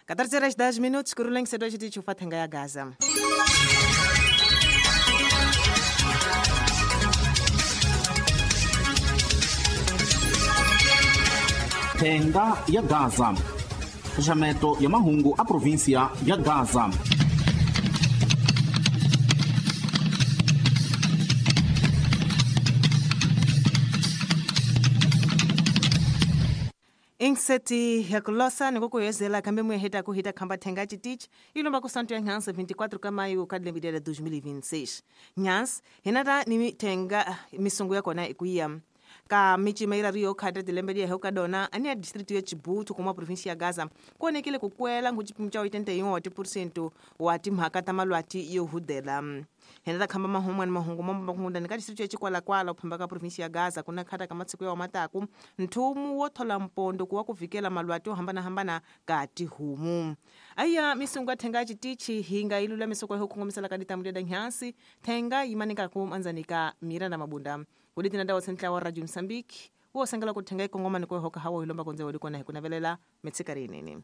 14 horas 10 minutos kuruleng sedo chiti chufa thenga ya Gaza. Thenga ya Gaza. Xaxameto ya mahungu a província ya Gaza. Inseti ya kulosa ni kukuyezela kambe muye ku hita khamba thenga chitichi ilomba kusanto ya nhansi 24 ka maio ka lembe la 2026. Nhansi hinata ni thenga misungu ya kona ikuya ka michima ira rio khata tilembe lia heuka dona ani ya distrito ya Chibutu kuma província ya Gaza kuonekile kukwela nguchipimo cha 81% wa timhaka ta malwati yo hudela. Henata khamba mahungu ni mahungu mambo makunda ni ka distrito ya Chikwalakwala uphamba ka província ya Gaza kuna khata ka matsiko ya mataku nthumu wo thola mpondo kuwa kuvikela malwati yo hambana hambana ka tihumu. Aya misungu thenga chitichi hinga ilula misoko yo khongomisela ka ditamule da nyansi thenga yimanika ku manzanika mira na mabunda. Kulitina dawa sentla wa Radio Mozambique wo sengela kuthenga ikongoma ni kuhoka hawo ilomba konze walikona hikunavelela metsikari nini.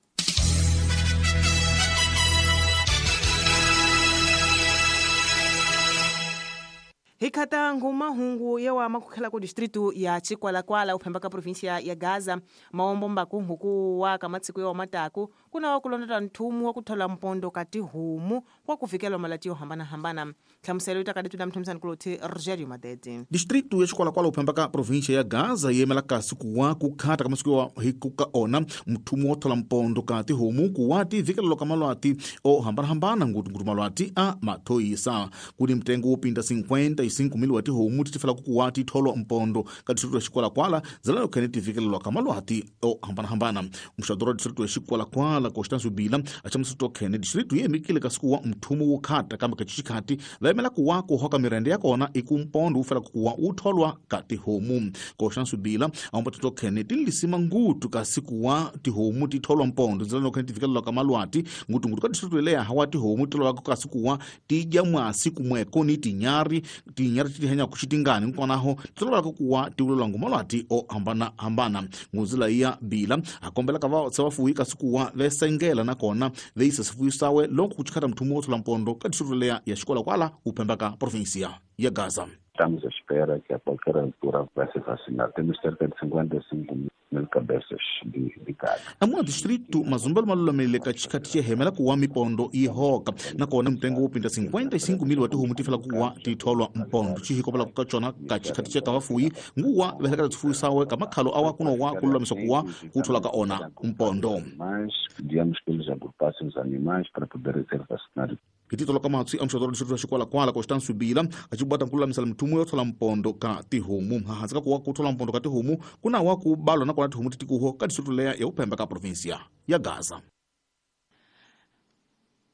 Hikata nguma hungu yewa makukhela ku distrito ya Chikwalakwala uphemba ka província ya Gaza maombo mbaku huku wa kamatsiko ya mataku kuna wa kulonda nthumu wa kuthola mpondo kati humu kwa kufikela malati yo hambana hambana. Hlamuselo itakaditu na mthomsani kuloti Rogerio Madede. Distrito ya Chikwalakwala uphemba ka província ya Gaza yemela kasi kuwa kukhata kamatsiko wa hikuka ona mthumu wa thola mpondo kati humu kuwa ti vikelo kamalwati o hambana hambana ngutu malwati a mathoyisa kuni mtengo upinda 55 mil wati homu titifela kukuwa titholwa mpondo ka distrito ya Chikwalakwala zalalo khene tivikelelwa ka malwati o hambana-hambana. Muxadoro wa distrito ya Chikwalakwala Constâncio Bila achamusito khene distrito yemikile ka siku wa mthumu wo khata kambe ka chichikhati va yimela kuwa kuhoka mirende ya kona i ku mpondo wu fela kukuwa wu tholwa ka tihomu. Constâncio Bila aomba tito khene tilisima ngutu ka siku wa tihomu titholwa mpondo zalalo khene tivikelelwa ka malwati ngutungutu ka distrito leya hawa tihomu titholwa ka siku wa tidya mwasi kumweko ni tinyari tihenya kuxitingani nkonaho titololaka kuwa tiulelwa ngumalwati o hambana hambana. Nguzila ya Bila akombela ka va vafuwi kasi kuwa vesengela nakona veisa sifuyo sawe loko kuchikhata mthumu wo thola mpondo ka distrito leya ya Chikwalakwala uphemba ka província ya Gaza. Estamos à espera que a qualquer altura vai ser vacinado. Temos cerca de 55 mil cabeças de gado. Amua distrito mazumbelo malulamile ka chikhati chehemela kuwa mipondo ihoka nakona mtengo wopinda 55 mil wa tihomu tifela kuwa titholwa mpondo chihikopela kukachona ka chikhati che kavafuyi nguwa vehelekela tifuyo sawe ka makhalo awa kunowa kululamisa kuwa kuthola ka ona mpondo. Mas pedíamos que eles agrupassem os animais para poderem ser vacinados. Hititolo ka matswi amuxadoro distrito ya Chikwalakwala Constâncio Bila achibwata nkululamisela mthumu yo thola mpondo ka tihomu. Hahansi ka kuwa kuthola mpondo ka tihomu kuna wa kubalwa nakona tihomu titikuho ka distrito leya ya uphemba ka província ya Gaza.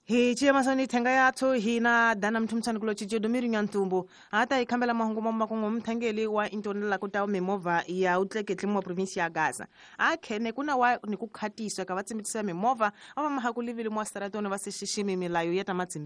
Hi chiyamasoni thenga yathu hina dana mthumtsani kulo chicho domiri nyantumbu ata ikhambela mahungu mamakungu mthangeli wa intonela kutawo mimovha ya utleketli mwa província ya Gaza akhene kuna wa ni kukhatiswa ka vatsimitisa mimovha ava mahakulivile mwa saratoni va sixiximi milayo ya ta